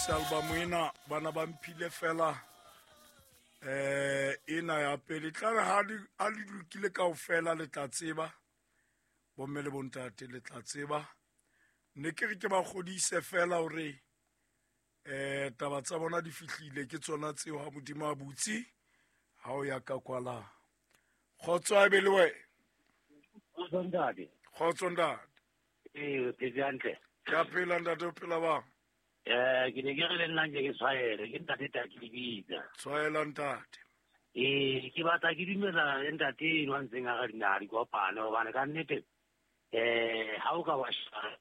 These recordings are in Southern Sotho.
Lokise album ena, bana ba mphile fela ena ya pele. Tla re ha di lokile kaofela le tla tseba, bomme le bontate le tla tseba. Ne ke re ke ba kgodise fela hore taba tsa bona di fihlile, ke tsona tseo ha Modimo a butse ha o ya ka kwala. Kgotso a be le wena. Kgotso ntate. Kgotso ntate. Ee, o phetse hantle. Ke a phela ntate, o phela bang? Ke ne ke re le nna nke ke tshwaele, ke ntate Taki Lebitla. Tshwaela ntate. Ee, ke batla ke dumela le ntate eno a ntseng a re dinaha di kopane, hobane ka nnete ha o ka wa sheba.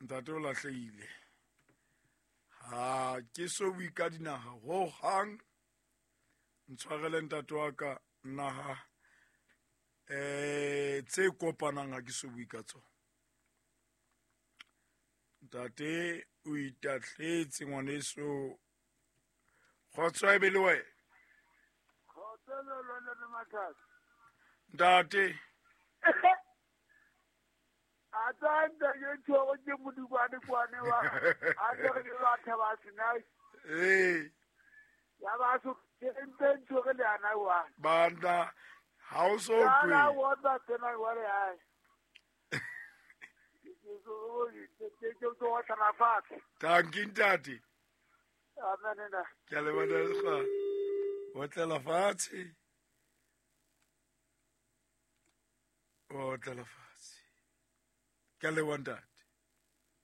Ntate o lahlehile. Ha ke so bue ka dinaha ho hang. Ntshwarele ntate wa ka, naha tse kopanang ha ke so bue ka tsona. Ntate o itahletse ngwaneso. Kgotso a be le wena. Kgotso le lona le mathata. Ntate. A tsanta ke tshwere ke modikwane kwane wa. A tsere ke batho ba sena. Ee. Ya ba so ke ntse tshwere le ana wa. Banda ha o so Ya kwe. la wa ba tsena wa re ai. Thank you, ntate. Amen, nna. Ke a leboha, ntate. Otlela fatshe. Otlela fatshe. Ke a leboha, ntate.